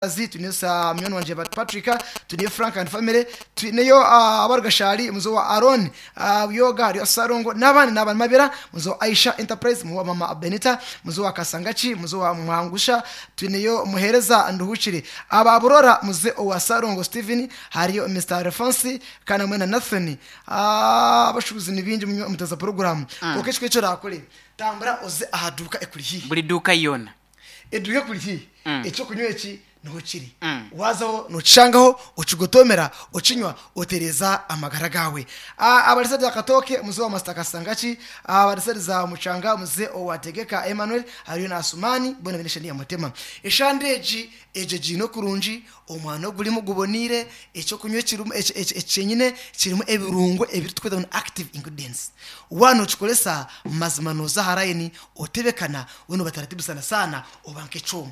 Twineyo munywani wangye Patrick, twineyo Frank and family, twineyo abarugashari muzo wa Aaron Buyoga, hariyo Sarongo n'abandi n'abandi Mabira, muzo wa Aisha Enterprise, muzo wa Mama Benita, muzo wa Kasangachi, muzo wa Mwangusha, twineyo Muhereza Nduhukire, aba Burora muze owa Sarongo Steven, hariyo Mr Alphonse kana mwena Nathan. Abashubuzi ni bingi muteza program mm. Ekyo ekyo rakore tambura oze aha duka ekuri hihi buri duka yona eduka ekuri hihi ekyokunywa eki niho kiri wazaho nokishangaho okigotomera okinywa otereza amagara gawe. Abarisa bya katoke muze wa Master Kasangaki, abarisa za mucanga muze owategeka Emmanuel, hariyo na Asumani bona bene ya mutema eshande egi eje gino kurungi omwana ogurimu gubonire ekyokunywa kirimu ekyenyine kirimu ebirungo ebiri tukweta ngu active ingredients wano okikoresa mazima noza harayini otebekana weno bataratibu sana sana oba nk'ekyoma.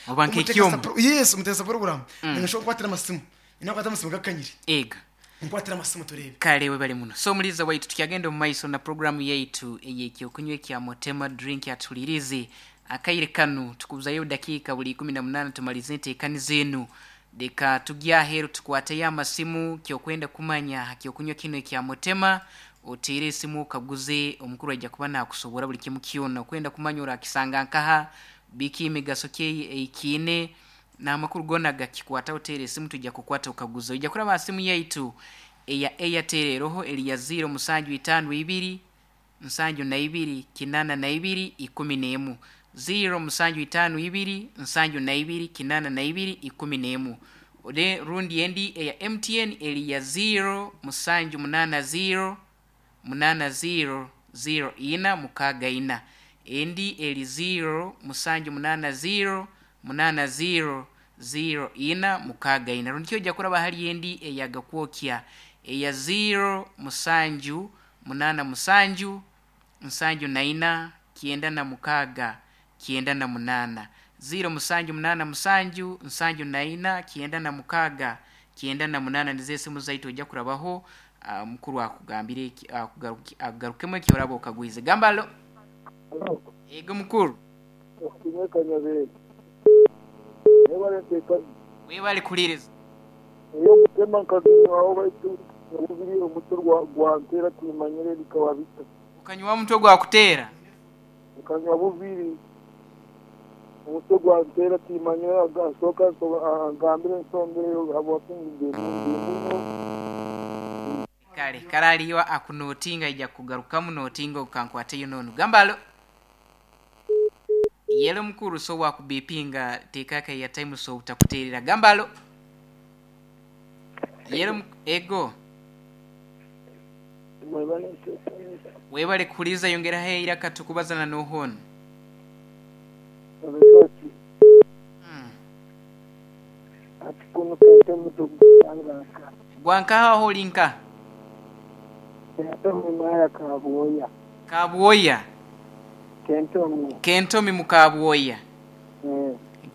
Oba nk'ekyoma. Yes, umutegesa program ninashobora kukwatira amasimu ninakwata amasimu gakanyire ega nkwatira amasimu turebe. Kale webale muno. So muliza waitu tukyagenda omu maiso na programu yaitu eyekyokunywa ekya Mutema Drink atulirize akaire kanu tukubuzayo dakiika buli 18 tumalize enteekani zenu leka tugye aheeru tukwateyo amasimu kyokwenda kumanya kyokunywa kino ekya Mutema oteere esimu okaguze omukuru aija kuba nakusobora buli kimu kyona okwenda kumanya orakisanga nkaha biki emigaso kye eikiine n'amakuru gona gakikwata oteere esimu tujja kukwata okaguza ojja kuraba simu yaitu eya Airtel eroho eri ya 0 musanju itaano ibiri nsanju na ibiri kinana na ibiri ikumi n'emu 0 musanju itaano ibiri nsanju na ibiri kinana na ibiri ikumi n'emu. Ode rundi endi eya MTN eri ya 0 musanju munana 0 munana 0 0 ina mukaaga ina endi eri 0 musanju munana 0 munana 0 0 ina mukaaga ina rundi kyo ojja kuraba hali endi eyagakwokya eya 0 musanju munana musanju nsanju na ina kyenda na mukaaga kyenda na munana 0 musanju munana musanju nsanju na ina kyenda na mukaaga kyenda na munana nizo esimu zaitu ojja kurabaho. Mukuru akugambire akugarukemu eki oraba okagwize gamba alo. Ego mukuru. Webale kuliriza. Iyo mutema nkazinywaho baitu obubiri omutwe gwantera timanyire bikaba bita. Ukanywa mutwe gwakuteera? Nkanywa bubiri omutwe gwantera timanyire agasooka agambire ensonga habwakingi. Kale karaliyo akunotinga ija kugarukamu notinga okankwatayo nonu gamba alo. Yelo mukuru so wakubipinga tekaka ya time so utakuterera gamba alo. Yelo ego webale kuliza yongera heira katukubazana nohono. Gwankaha holinka Kabwoya. Kabwoya. Kentomi. Kentomi mukabwoya.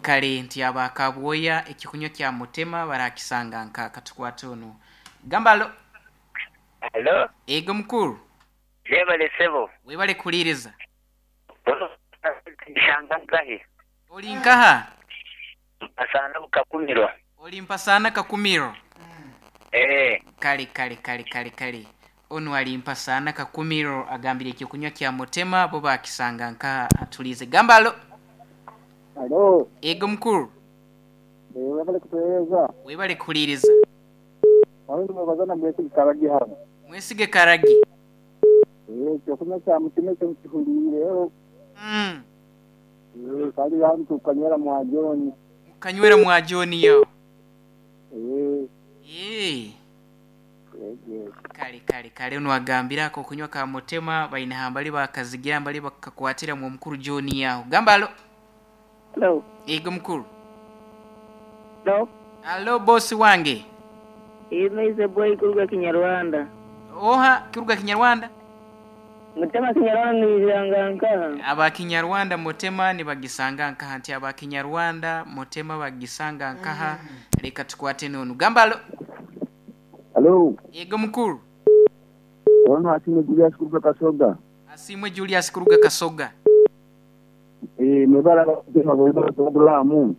Kale nti aba Kabwoya ekikunywa kya Mutema barakisanga nka katukwata ono. Gamba alo. Alo. Ego mukuru. Webale sebo. Webale kuliriza. Shanga nkahi. Oli nkaha? Mpasana Kakumiro. Oli mpasana Kakumiro. Kale kale kale kale kale. Ono alimpa sana Kakumiro agambire ekyokunywa kya Mutema bo bakisanga nka atulize. Gamba alo. Alo. Ego mukuru. Webale kutueleza. Webale kuliriza. Wabale mwebazana mwesige Karagi hano. Mwesige Karagi. Ekyokunywa kya Mutema ekyo nkihuliireho. Kali hano tukanywera mwa John. Kanywera mwa John yo. Kale kale kale ono agambira ako kunywa ka Mutema baina hambali bakazigira mbali bakakwatira mu mukuru John yaho. Gamba alo. Hello. Ego mukuru. Hello. Alo bosi wange. Imeize boy kuruga Kinyarwanda. Oha kuruga Kinyarwanda? Mutema Kinyarwanda nizanga nkaha. Aba Kinyarwanda Mutema nibagisanga nkaha nti aba Kinyarwanda Mutema bagisanga nkaha. Leka tukwate nono. Gamba alo. Alo. Ego mukuru. Ono Asimwe Julius kuruga Kasoga. Asimwe Julius kuruga Kasoga. Mwebala programu.